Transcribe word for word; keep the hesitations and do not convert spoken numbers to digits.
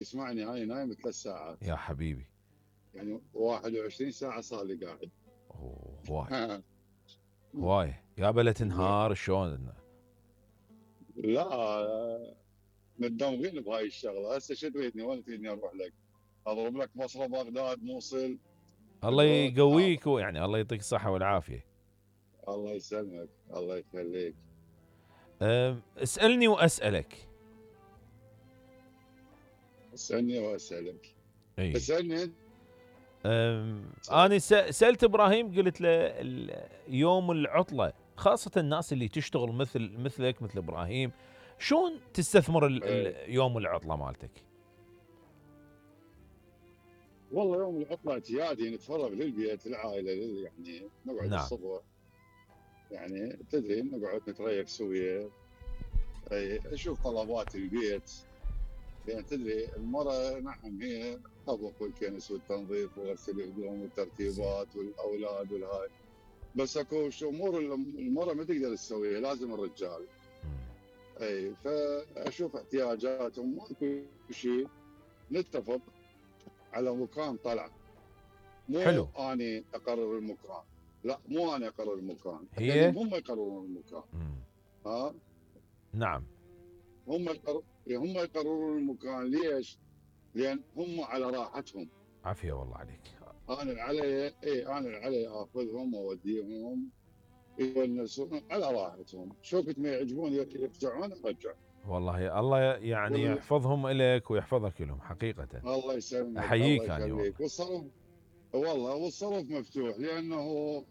يسمعني هاي نايم ثلاث ساعات. يا حبيبي. يعني واحد وعشرين ساعة صار لي قاعد. اوه هواي هواي يابا لا تنهار شلون؟ لا متدمغين بهاي الشغله. هسه شو تريدني؟ وين تريدني اروح لك؟ اضرب لك بصره بغداد موصل؟ الله يقويك ويعني الله يعطيك الصحة والعافية. الله يسلمك الله يخليك. اسألني وأسألك. اسألني وأسألك. اي اسألني. أنا سألت إبراهيم قلت له يوم العطلة خاصة الناس اللي تشتغل مثل مثلك مثل إبراهيم شلون تستثمر يوم العطلة مالتك؟ والله يوم العطلة اعتيادي نتفرغ للبيت العائلة يعني نقعد نعم. الصبح يعني تدري نقعد نتريق سوية. اشوف طلبات البيت يعني تدري المرأة نعم هي طبخ والكنس والتنظيف وغسل الهدوم والترتيبات والاولاد والهاي، بس اكو امور المرأة ما تقدر تسويها لازم الرجال. اي فاشوف احتياجاتهم ماكو شيء نتفق على مكان طلع. مو حلو. اني اقرر المكان، لا مو انا اقرر المكان، هي هم يقررون المكان. مم. ها نعم هم يقرر... هم يقررون المكان. ليش؟ لان هم على راحتهم. عافيه والله عليك. انا علي اي انا علي اخذهم واوديهم يونسون على راحتهم. شوفت ما يعجبون يرجعون ارجع. والله الله يعني وال... يحفظهم لك ويحفظك لهم حقيقه. الله يسلمك احييك الله يخليك. والصرف والله والصرف مفتوح لانه